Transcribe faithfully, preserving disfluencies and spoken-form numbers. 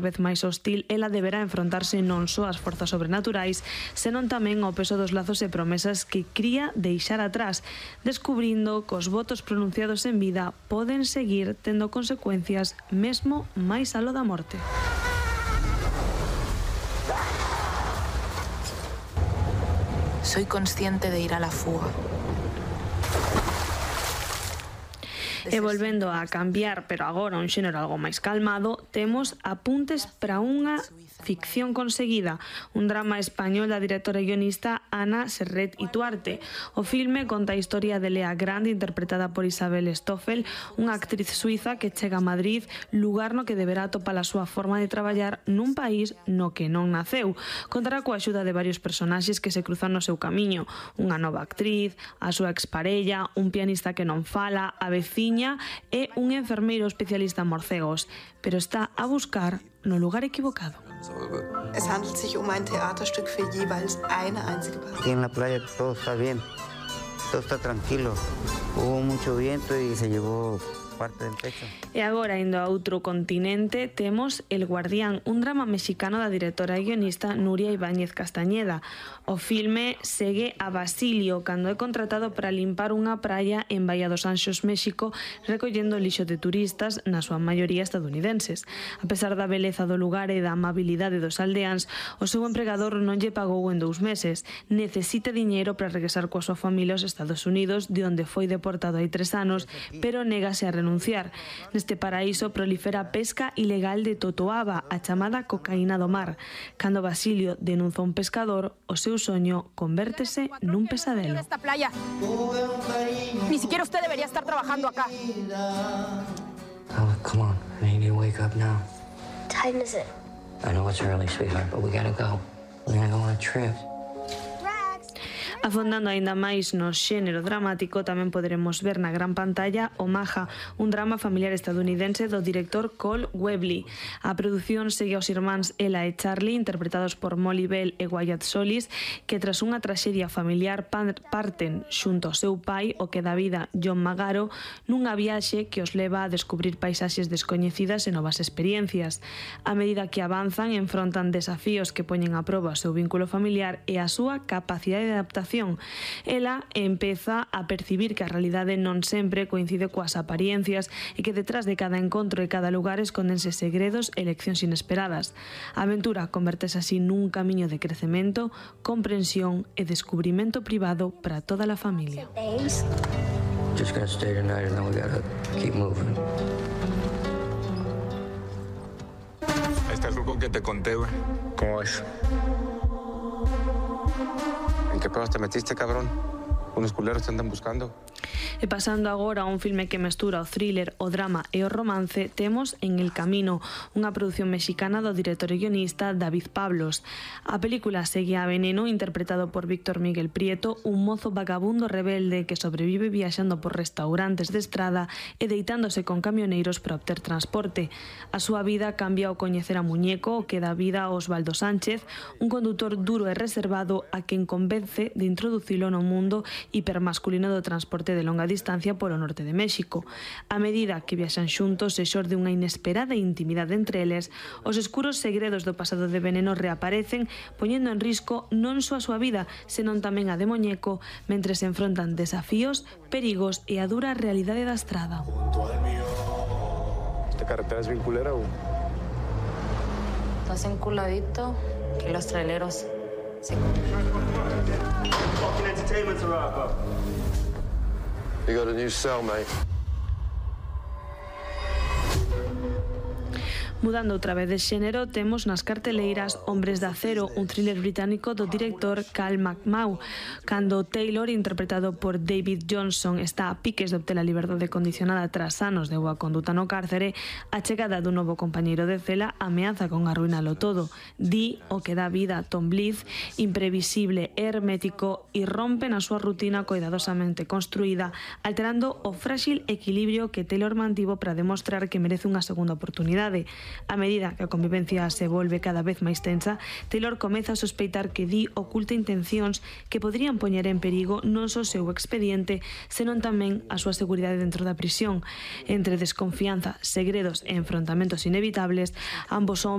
vez máis hostil, ela deberá enfrontarse non só ás forzas sobrenaturais, senón tamén ao peso dos lazos e promesas que cría deixar atrás, descubrindo que os votos pronunciados en vida poden seguir tendo consecuencias mesmo máis aló da morte. Soy consciente de ir a la fuga. E volvendo a cambiar, pero agora un xénero algo máis calmado, temos Apuntes para unha ficción conseguida, un drama español da directora e guionista Ana Serret Ituarte. O filme conta a historia de Lea Grande, interpretada por Isabel Stoffel, unha actriz suiza que chega a Madrid, lugar no que deberá atopar a súa forma de traballar nun país no que non naceu. Contará coa axuda de varios personaxes que se cruzan no seu camiño, unha nova actriz, a súa exparella, un pianista que non fala, a veciña e un enfermeiro especialista en morcegos, pero está a buscar no lugar equivocado. Es handelt sich um ein Theaterstück für jeweils eine einzige Person. Aquí en la playa todo está bien, todo está tranquilo. Hubo mucho viento y se llevó parte del techo. E agora, indo a outro continente, temos El Guardián, un drama mexicano da directora e guionista Nuria Ibáñez Castañeda. O filme segue a Basilio cando é contratado para limpar unha praia en Bahía dos Anxos, México, recollendo lixo de turistas, na súa maioría estadounidenses. A pesar da beleza do lugar e da amabilidade dos aldeáns, o seu empregador non lle pagou en dous meses. Necesita diñeiro para regresar coa súa familia aos Estados Unidos, de onde foi deportado hai tres anos, pero négase a renunciar. Neste paraíso prolifera a pesca ilegal de totoaba, a chamada cocaína do mar. Cando Basilio denuncia un pescador, o seu soño convértese nun pesadelo. Esta playa. Ni siquiera usted debería estar trabajando acá. Oh, come on. I need to wake up now. What time is it? I know it's early, sweetheart, but we gotta go. We're gonna go on a trip. Afondando aínda máis no xénero dramático, tamén poderemos ver na gran pantalla Omaha, un drama familiar estadounidense do director Cole Webley. A produción segue aos irmáns Ella e Charlie, interpretados por Molly Bell e Wyatt Solis, que tras unha traxedia familiar parten xunto ao seu pai, o que dá vida John Magaro, nunha viaxe que os leva a descubrir paisaxes descoñecidas e novas experiencias. A medida que avanzan, enfrontan desafíos que poñen a proba o seu vínculo familiar e a súa capacidade de adaptación. Ela empeza a percibir que a realidade non sempre coincide coas apariencias e que detrás de cada encontro e cada lugar escondense segredos e leccións inesperadas. A aventura convertese así nun camiño de crecemento, comprensión e descubrimento privado para toda a familia. Just gonna stay tonight and then we gotta keep moving. Ahí está el grupo que te conté, güey. ¿Cómo ves? ¿En qué pruebas te metiste, cabrón? Unos culeros te andan buscando. E pasando agora a un filme que mestura o thriller, o drama e o romance, temos En el camino, unha produción mexicana do director e guionista David Pablos. A película segue a Veneno, interpretado por Víctor Miguel Prieto, un mozo vagabundo rebelde que sobrevive viaxando por restaurantes de estrada e deitándose con camioneiros para obter transporte. A súa vida cambia ao coñecer a Muñeco, que dá vida a Osvaldo Sánchez, un condutor duro e reservado a quen convence de introducilo no mundo hipermasculino do transporte de longa distancia polo norte de México. A medida que viaxan xuntos e xorde unha inesperada intimidade entre eles, os escuros segredos do pasado de Veneno reaparecen, poñendo en risco non só a súa vida, senón tamén a de Muñeco, mentre se enfrontan desafíos, perigos e a dura realidade da estrada. ¿Esta carretera es bien culera, güey? Estás enculadito que los traileros se... You got a new cell, mate. Mudando outra vez de xénero, temos nas carteleiras Hombres de Acero, un thriller británico do director Cal McMahon. Cando Taylor, interpretado por David Johnson, está a piques de obter a liberdade condicionada tras anos de boa conduta no cárcere, a chegada dun novo compañeiro de cela ameaza con arruinalo todo. Dee, o que dá vida a Tom Blythe, imprevisible e hermético, irrompe na súa rutina coidadosamente construída, alterando o frágil equilibrio que Taylor mantivo para demostrar que merece unha segunda oportunidade. A medida que a convivencia se volve cada vez máis tensa, Taylor comeza a sospeitar que Dee oculta intencións que poderían poñer en perigo non só o seu expediente, senón tamén a súa seguridade dentro da prisión. Entre desconfianza, segredos e enfrontamentos inevitables, ambos homes